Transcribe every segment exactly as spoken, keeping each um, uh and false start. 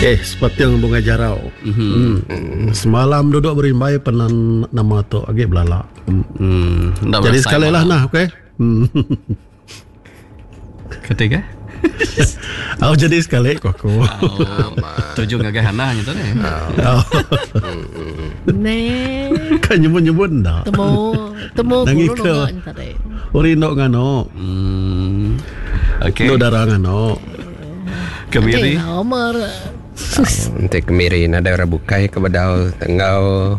Eh, sepating bunga jarau. Mm-hmm. Hmm. Semalam duduk berimbai penan nama tu agi belala. Hmm. Hmm. Jadi sekali lah nah, okey. Hmm. Ketiga. Oh, jadi sekali ku aku. Oh, tuju ngagai Hana nya tu ni. Oh. Ne. Kan nyebut-nyebut ndak. Temu temu Nangi guru ke. nunggak nya tadi. Rindu ngano. Hmm. Okey. Lu darah ngano. Kemiri. Nanti nomor. Nanti kemiri ada orang bukai ke bedau tenggau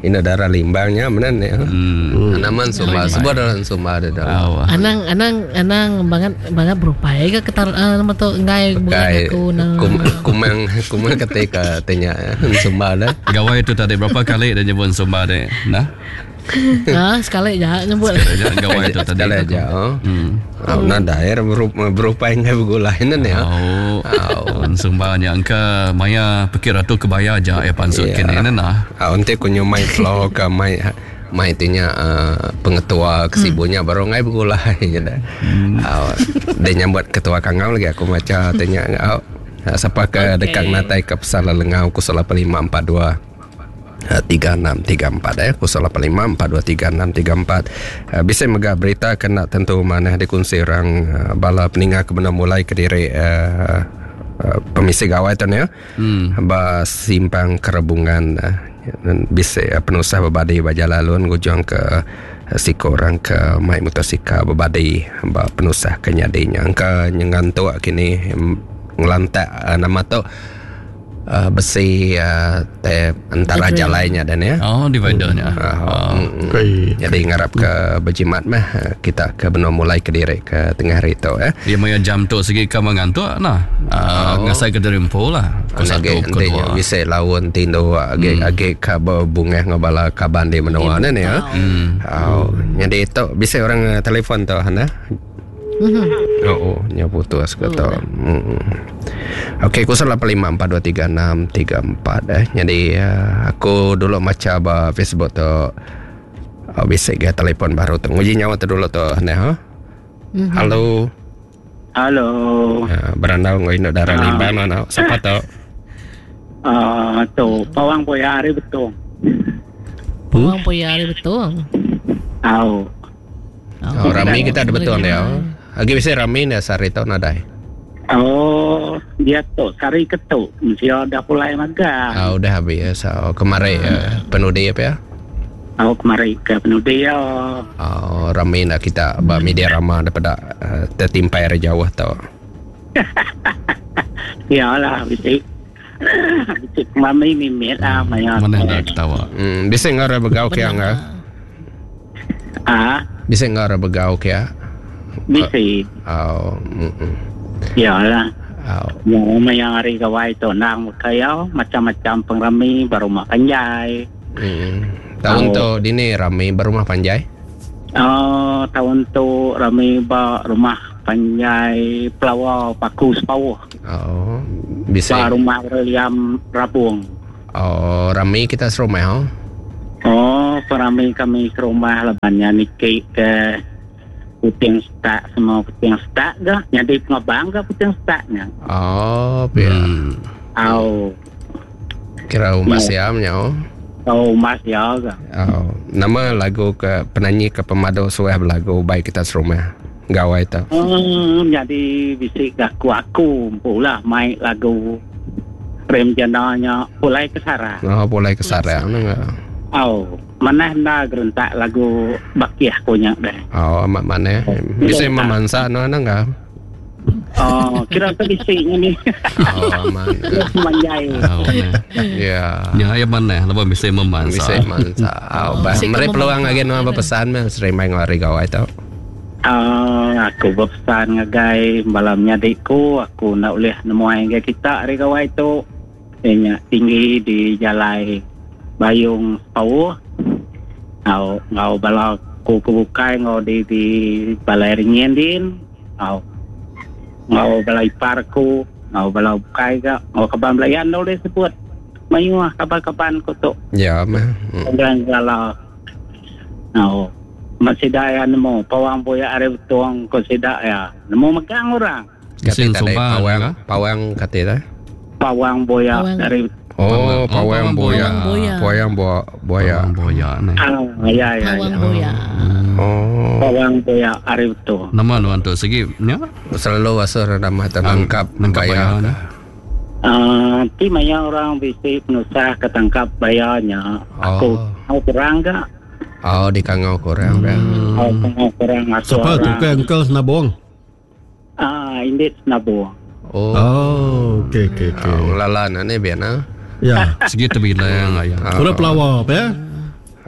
ina darah limbangnya mana ni? Hmm. Anaman sumba sebuah dalam sumba ada dalam. Oh. Anang anang anang banget banget berupai ke ketar uh, nama tu ngai bukan Kai aku na. kum, kumang kumang ketika tanya sumba dah. Gawai tu tadi berapa kali dia nyebut sumba ni? Nah. Ha, sekali je nyebut. Sekali aja gawai tu tadi. Sekali aja. Oh. Hmm. Oh, nada air berupa ngai bergulai ni ya. Oh. Sumbanya angka maya pikir ratu kebaya aja ya pansut Ya. kini nah. Ah, nanti aku nyumai flow ke mai mai tinya uh, pengetua kesibunya baru ngai bergulai je dah. Ah, dia nyambut ketua kangau lagi aku baca tanya oh, siapa ke Okey. dekat natai ke pesala lengau kosong lapan lima empat dua tiga enam tiga empat eh kosong lapan lima empat dua tiga enam tiga empat. Uh, bisa mega berita kena tentu mana dikongsi orang uh, bala peninga ke benda mulai ke diri uh, uh, pemisi gawai tu ni ya. Hmm. Ba simpang kerebungan uh, bisa uh, penusah berbadi baja lalun gujung ke uh, siko orang ke mai motosikal berbadi ba penusah kenyadinya angka nyengantuk kini ngelantak uh, nama tu uh, besi uh, te antara Betul. jalainya dan ya. Oh, dividernya. Uh, Oh. mm, mm. Okey. Jadi ngarap ke berjimat mah uh, kita ke benar mulai ke diri ke tengah hari tu eh. Dia maya jam tu segi ke mengantuk nah. Uh, Oh. Ngasai ke derimpo lah. Ke satu Age ke dua. bisa lawan tindo age age ka berbunga ngabala kaban di menua ni ya. Hmm. Oh, jadi itu bisa orang uh, telefon tu Hana. Oh, oh nya putus ke tu. Hmm. Okey, kosong lapan lima empat dua tiga enam tiga empat eh. Jadi uh, aku dulu maca ba Facebook tu. Oh, bisa ke telefon baru tu. Nguji nyawa tu dulu tu Hana ha. Halo. Halo. Uh, berandau ngoi nak darah limbang mana? Siapa tu? Uh, tu pawang boya hari betul. Pawang boya hari betul. Au. Oh, rami kita ada betul ya. Lagi bisa rami ni sehari tu nadai. Oh, dia tu sari ketuk. Mesti dah pulai magang. Ah, udah habis. So, kemarin uh, penudi apa ya? Au kemari ke penudi ya. Oh, rami nak kita ba media ramah daripada uh, tertimpai dari jauh tu. Yalah, bisik. Bisik mami mimit lah maya. Mana dah ketawa. Hmm, bisa ngara begau ke enggak? Ah, Bisa ngara begau ke ya? bisik. Oh, mm, mm. Yalah. Oh, Mau maya hari gawai tu nang kaya macam-macam pengrami baru mak panjai. mm. Tahun Oh. tu dini rami berumah panjai. Oh, tahun tu rami ba rumah panjai pelawa paku sepauh. Oh, bisa. Ba rumah William Rabung. Oh, rami kita serumah oh. Oh, perami kami ke rumah lebannya niki ke puting stak semua puting stak ke jadi pengabang ke puting staknya. Oh, ya. Hmm. Au, Kira rumah Ya. siamnya oh. oh mas ya ke. Oh, nama lagu ke penyanyi ke pemadu suah berlagu baik kita serumah. Gawai tu. Hmm, jadi bisik aku aku pula main lagu Rem Jananya pulai ke Sarah. Oh, boleh ke sarang enggak? Au, mana hendak gerentak lagu bakiah punya deh. Oh, amat mana? Bisa memansa no enggak? Oh, kira tu bisiknya ni. Oh, aman. Manjai. Oh, mana. Ya. Ya, ya mana? Lepas bisa memansa. Bisa mansa. Oh, bah, Bisa meri peluang memansa. lagi no apa pesan meh sering main ngari gawai tu. Ah, aku berpesan ngagai malamnya adikku, aku nak boleh nemuai dengan kita hari gawai tu. Nya tinggi di jalai Bayung Sepauh. Ngau ngau bala ku kebukai ngau di di balai ringin din. Ngau ngau bala ipar ku, ngau bala bukai ka, ngau kaban belayan dah boleh sebut. Mayu ah kaban-kaban ku tu. Ya, meh. Hmm. Orang kalau no, masih dah ya nemu pawang boya are betuang ko sida ya nemu megang orang Kata Isin tadi sumba pawang, juga. pawang kata dah. Pawang Boya Pawang. Dari Oh, Pawang pawang boya. Pawang boya. Pawang bo- boya. Pawang Boya ni. Ah, ya ya. Pawang ya. Boya. Oh. Pawang Boya hari itu. Nama nuan tu segi nya Selalu asuh nama tu nangkap nangkap baya. baya ni. Ah, ti maya orang bisi penusah ketangkap bayarnya. Aku Oh. mau kurang gak? Oh, di kangau kurang ya. Oh, mau kurang asuh Siapa tu orang. ke Uncle Senabong? Ah, indit senabung. Oh. Oh, okey okey okey. Oh, lala na ni biar na. Ya. Segi terbilang ayah. Kura pelawa apa ya?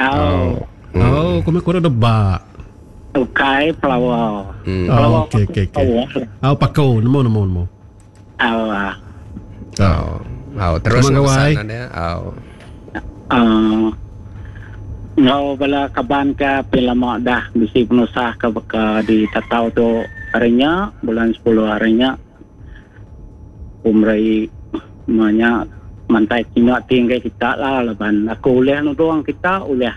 Oh, Oh, kami kura debak. ukai pelawa. Hmm. Oh, okey okey okey. Oh, pakau nemu nemu nemu. Oh, ah. Oh. Oh, terus Terima nak kasih. pesan dia. Oh. Ah, ngau bala kaban ke pilama dah bisi penusah ke beka di tatau tu harinya bulan sepuluh harinya umrai banyak mantai kina tinggi kita lah leban aku ulih nuduang kita ulih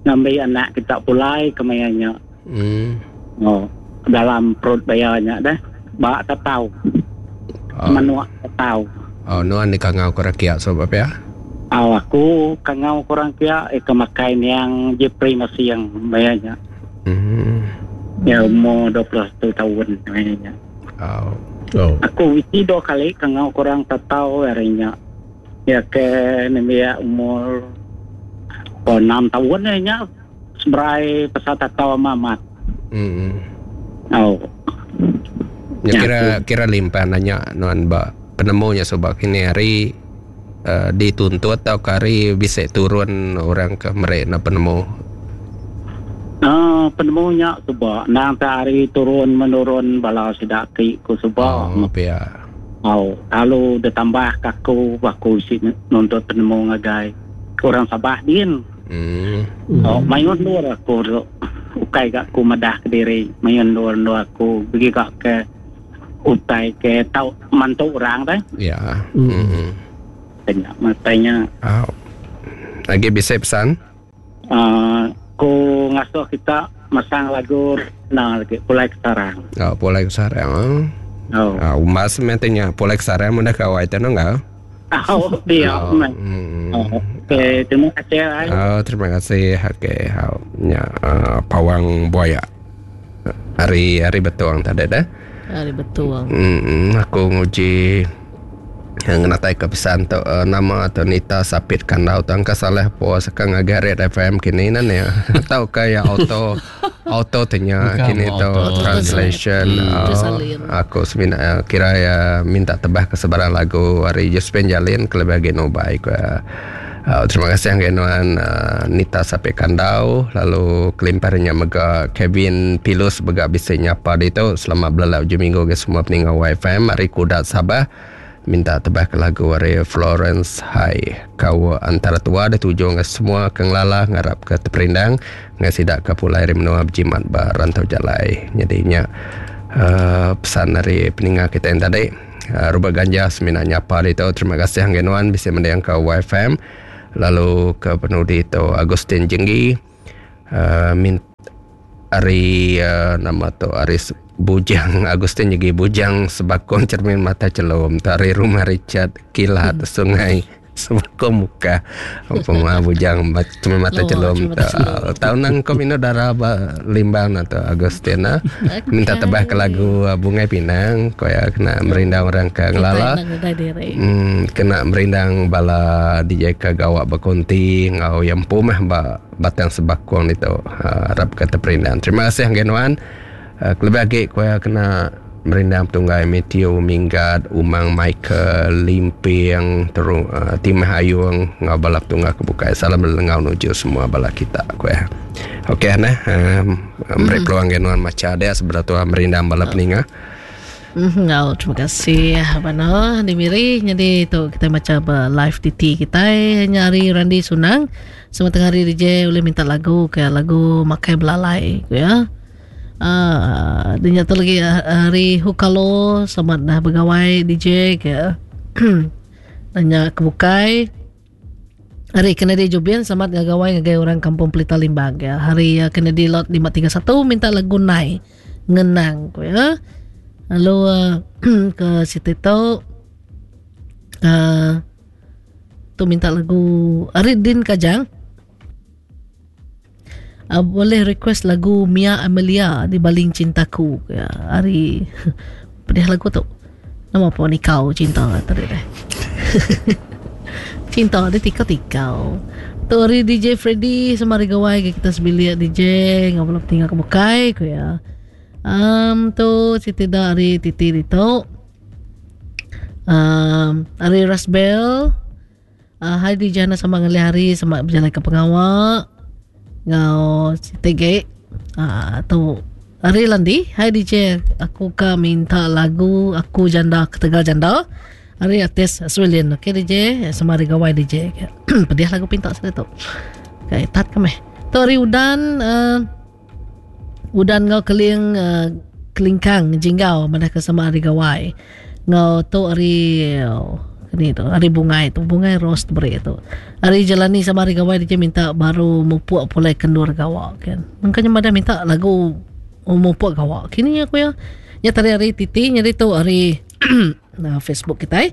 ngambil anak kita pulai kemayanya Hmm. oh dalam perut bayarnya dah bak tatau Oh. manuak tatau. Oh, nuan di kangau kurang kiak sebab ya. Oh, aku kangau kurang kia eh kemakai yang Jepri masih yang bayarnya. Hmm. Ya umur dua puluh satu tahun bayarnya. Oh. Oh. Aku wisi dua kali kangau kurang tatau harinya. Ya ke nemia umur oh, enam tahun ya seberai pesat tatau mamat. Hmm. Oh. Ya, Ya, kira kira limpan nanya nuan ba penemunya sebab kini hari uh, dituntut atau kari bisa turun orang ke mereka na penemu. Ah, penemunya sebab nang hari turun menurun bala sidaki ku sebab. Oh, apa ya? Oh, lalu ditambah kaku aku si nuntut penemu ngagai orang Sabah din. Hmm. Oh, mayun luar aku tu. Ukai gak aku madah ke diri, mayun luar luar aku pergi gak ke utai ke tau mantu orang dah. Ya. Hmm. Hmm. Tanya matanya Oh. Lagi bisa pesan? uh, ku ngasuh kita masang lagu nah lagi pulai ke sarang. Oh, pulai ke sarang. Oh. Ah, umas mentenya pulai ke sarang mudah kawai tu enggak? Oh, dia. Oh, hmm. Oh, okey, terima kasih. Ay. Oh, terima kasih. Okey, oh, ya, uh, pawang buaya. Hari hari betuang tadi dah. Hari betul. Hmm, aku nguji yang natai ke pesan tu uh, nama atau Nita Sapit Kandau tu angka salah puas sekarang agak Red F M kini nan ya. Atau kayak auto auto tanya Bukan kini tu auto. translation. Hmm. Oh, Tersalin. aku semina uh, kira ya minta tebah ke sebarang lagu hari Josephine Jalin kelebih lagi nobai ku. Uh, terima kasih yang nuan uh, Nita Sapit Kandau lalu kelimparnya mega Kevin Pilus bega bisa nyapa di tu selamat belalau hujung minggu ke semua peninggal Y F M hari Kudat Sabah minta tebah ke lagu hari Florence High kau antara tua ada tujuh ke semua ke ngelala ngarap ke terperindang ngasidak ke pulai hari menua berjimat barantau jalai jadinya uh, pesan dari peninggal kita yang tadi uh, Robert Ganja semina nyapa di tu terima kasih yang nuan bisa mendengar ke Y F M lalu ke penudi itu Agustin Jenggi uh, min hari uh, nama tu Aris Bujang Agustin Jenggi Bujang Sebakong Cermin Mata Celum tari Rumah Richard Kilat hmm. Sungai Sebakong Muka apa mah Bujang Cermin Mata Oh, Celum Cermin Mata Celum. tahun nang kau minum darah ba, limbang atau Agustin ah. Minta tebah ke lagu uh, Bungai Pinang kau ya kena merindang orang ke ngelala. Kita nak ngedai diri. Hmm, kena merindang bala D J ke gawak berkonti ngau yang pumah ba batang sebakong itu uh, harap kata perindang. Terima kasih Hanggenuan. Uh, kelebih lagi kau kena merindang tunggai Matthew Minggat, Umang Michael, Limping, terus uh, Timah Ayung ngau balap tunggal kebukai. Salam lengau nuju semua bala kita kau ya. Okey nah, um, beri peluang Hanggenuan maca dia sebelah tua merindang bala peninga. Mm, oh, terima kasih Abang di Miri. Jadi tu kita macam live T T kita nyari Randi Sunang. Semua tengah hari D J boleh minta lagu ke lagu Makai Belalai ya. Ah, uh, dia nyata lagi hari Hukalo selamat dah bergawai D J ke. Nanya kebukai. Hari Kennedy Jubian selamat gawai ngagai orang kampung Pelita Limbang ya. Hari Kennedy lot lima tiga satu minta lagu Nai Ngenang ya. Lalu uh, ke situ tu Uh, tu minta lagu Aridin Kajang. Uh, boleh request lagu Mia Amelia di Baling Cintaku ya, hari pedih lagu tu. Nama apa ni kau cinta tadi deh. Cinta dia tikau-tikau. Tu hari D J Freddy sama hari gawai kita sebilik D J ngau belum tinggal ke bukai ku ya. Um tu siti dah hari titi itu. Um hari Rasbel. Uh, hai D J Hana sama ngalih hari sama berjalan ke pengawak. Ngau T G ah tu hari Landi. Hai D J, aku ka minta lagu Aku Janda Ketegal Janda hari artis Australian. Okey D J, sama hari gawai D J. Pedih lagu pinta sudah tu. Okey, tat kami. Tu hari Udan uh, Udan ngau keling uh, kelingkang jinggau mana ke sama hari gawai. Ngau tu hari oh, ni tu hari bungai tu bungai rose beri tu. Hari jalani sama hari gawai dia minta baru mupuk pulai kendur gawak kan. Makanya mada minta lagu mupuk gawak. Kini aku ya. Ya tadi hari titi jadi tu hari nah Facebook kita eh.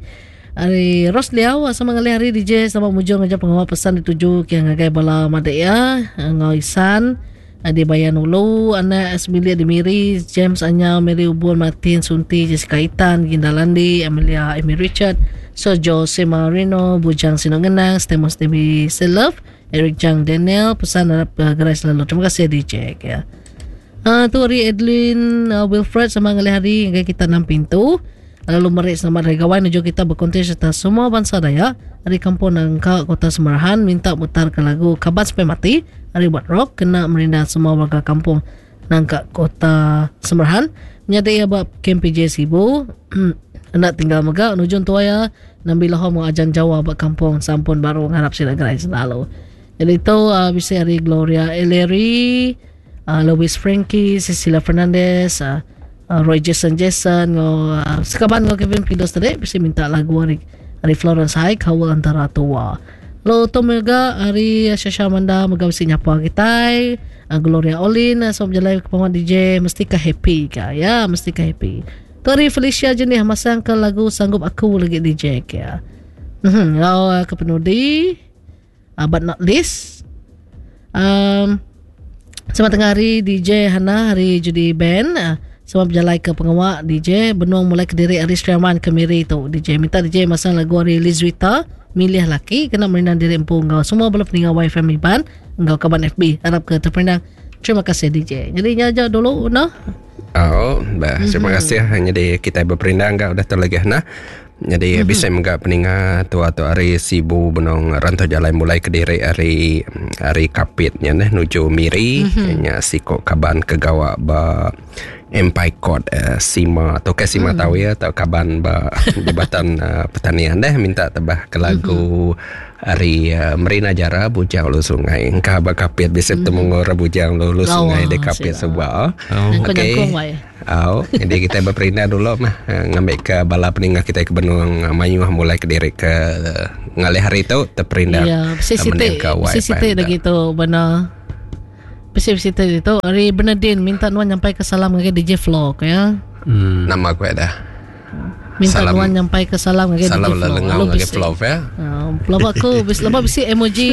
Hari Ros Liao sama ngalih hari D J sama mujur ngajar pengawal pesan dituju ke ngagai bala madak ya ngau Isan di Bayan Ulu, anak Esmilia di Miri, James Anya, Mary Ubun, Martin Sunti, Jessica Itan, Ginda Landi, Amelia Amy Richard, Sojo Semarino, Bujang Sinongenang, Stemos Dewi Selove, Eric Jang Daniel, pesan harap uh, gerai selalu. Terima kasih D J ya. Uh, tu hari Edlin uh, Wilfred sama ngalih hari hingga kita enam pintu. Lalu merik selamat hari gawai menuju kita berkonten serta semua bangsa Dayak. Hari kampung Nangka Kota Semarahan minta putar ke lagu Kaban Sampai Mati. Hari buat rock kena merindang semua warga kampung Nangka Kota Semarahan. Menyadai ya bab K P J Sibu. Nak tinggal megak nujun tua ya. Nambi loho mau ajan Jawa bab kampung Sampun Baru ngarap sila gerai selalu. Jadi itu uh, bisa hari Gloria Ellery, uh, Louis Frankie, Cecilia Fernandez, uh, Uh, Roy Jason Jason ngau uh, sekaban ngau Kevin Pidos tadi bisa minta lagu hari hari Florence High Kawal Antara Tua. Lo tu mega hari Shasha Manda mega mesti nyapa kita uh, Gloria Olin uh, sob jalan ke paman D J mesti ka happy ka ya mesti ka happy. Tu hari Felicia jenih masang ke lagu Sanggup Aku lagi D J ka. Mhm ngau uh, ke penudi uh, but not least um sama tengah hari D J Hana hari Judy Ben uh, sebab berjalan ke pengawak D J Benung mulai ke diri Aris Triaman ke Miri tu D J minta D J masang lagu hari Lizwita Milih Laki kena merindang diri empu engkau semua bala peninggal Y F M Iban engkau kaban F B harap ke terperindang. Terima kasih D J. Jadi nyaja dulu nah. Oh, bah, terima mm-hmm. kasih. Jadi kita berperindang enggak udah terlagi nah. Jadi mm-hmm. bisa menggak peninga tua tu hari Sibu benong rantau jalan mulai ke diri hari hari kapitnya neh nuju Miri mm-hmm. nya siko kaban ke gawak ba Empire Court uh, Sima atau ke Sima mm-hmm. tahu ya atau kaban ba jabatan uh, pertanian deh minta tebah ke lagu mm-hmm. hari uh, Merina Jara Bujang Ulu Sungai. Engkau ba kapit bisa mm-hmm. temu ngora Bujang Ulu Sungai de kapit sebuah. Oh. Okey. Oh, jadi kita berperindah dulu mah ngambil ke bala peningah kita ke Benung Mayuh mulai ke diri ke ngalih hari itu terperindah. Ya, sisite sisite lagi tu benar. Sisite itu hari Bernardine minta nuan nyampai ke salam ke D J Vlog ya. Hmm. Nama aku ada. Minta salam, nuan nyampai ke salam ke D J Salam Vlog. Salam ke Vlog ya. Pelaba aku bis laba bisi emoji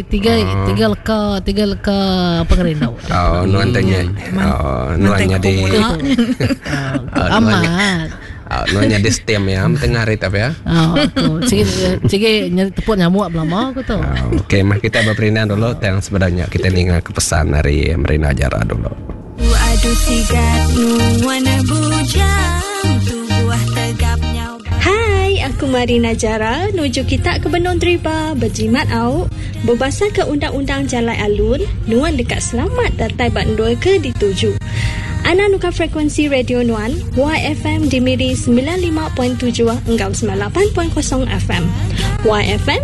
tiga oh. tiga leka tiga leka pengerindau. Oh, nuan tanya. Oh, nuan jadi. Amat. Oh, nuan jadi steam ya, tengah hari tapi ya. Oh, aku. Cigi cigi nyari tepuk nyamuk belama aku tu. Oh, okey, mah kita berperindang dulu tang sebenarnya kita ninga ke pesan dari Merina Jara dulu. Aduh sigat nuan bujang tubuh tegapnya. Hai, aku Marina Jara nuju kita ke Benong Driba berjimat au berbahasa ke undang-undang Jalai Alun nuan dekat selamat datai bandul ke dituju. Ana nuka frekuensi radio Nuan Y F M di Miri sembilan lima titik tujuh hingga sembilan lapan titik kosong F M. Y F M